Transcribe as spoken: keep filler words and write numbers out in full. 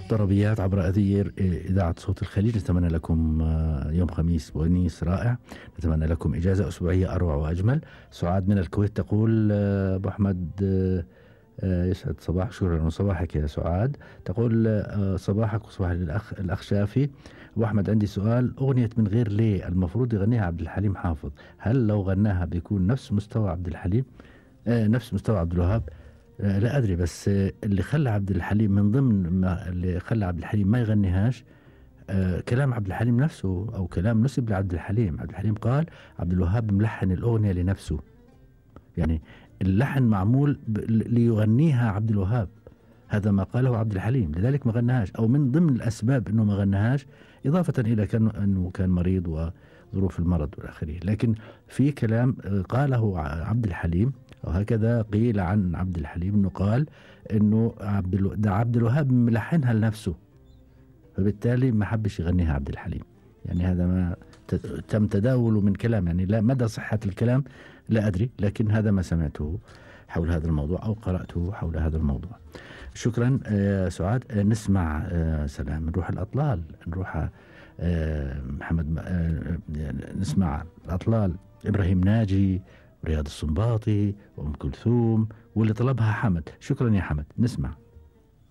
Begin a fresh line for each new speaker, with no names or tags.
طربيات عبر أثير إذاعة صوت الخليج. نتمنى لكم يوم خميس ونيس رائع، نتمنى لكم إجازة أسبوعية أروع وأجمل. سعاد من الكويت تقول أبو أحمد يسعد صباح، شكرا صباحك يا سعاد. تقول صباحك وصباح الأخ الأخ شافي. أبو أحمد عندي سؤال، أغنية من غير ليه المفروض يغنيها عبد الحليم حافظ، هل لو غناها بيكون نفس مستوى عبد الحليم آه نفس مستوى عبد الوهاب؟ آه لا أدري، بس آه اللي خلى عبد الحليم من ضمن ما اللي خلى عبد الحليم ما يغنيهاش آه كلام عبد الحليم نفسه، أو كلام نسب لعبد الحليم. عبد الحليم قال عبد الوهاب ملحن الأغنية لنفسه، يعني اللحن معمول ليغنيها عبد الوهاب، هذا ما قاله عبد الحليم، لذلك ما غناهاش، أو من ضمن الأسباب أنه ما غناهاش إضافة إلى كان أنه كان مريض وظروف المرض والآخرين. لكن في كلام قاله عبد الحليم، وهكذا قيل عن عبد الحليم أنه قال أنه عبد ده عبد الوهاب ملحنها لنفسه، فبالتالي ما حبش يغنيها عبد الحليم. يعني هذا ما تم تداوله من كلام، يعني لا مدى صحة الكلام لا أدري، لكن هذا ما سمعته حول هذا الموضوع أو قرأته حول هذا الموضوع. شكرا آه سعاد. آه نسمع آه سلام، نروح الأطلال، نروح آه محمد آه نسمع الأطلال، إبراهيم ناجي، رياض السنباطي، وأم كلثوم، واللي طلبها حمد. شكرا يا حمد، نسمع.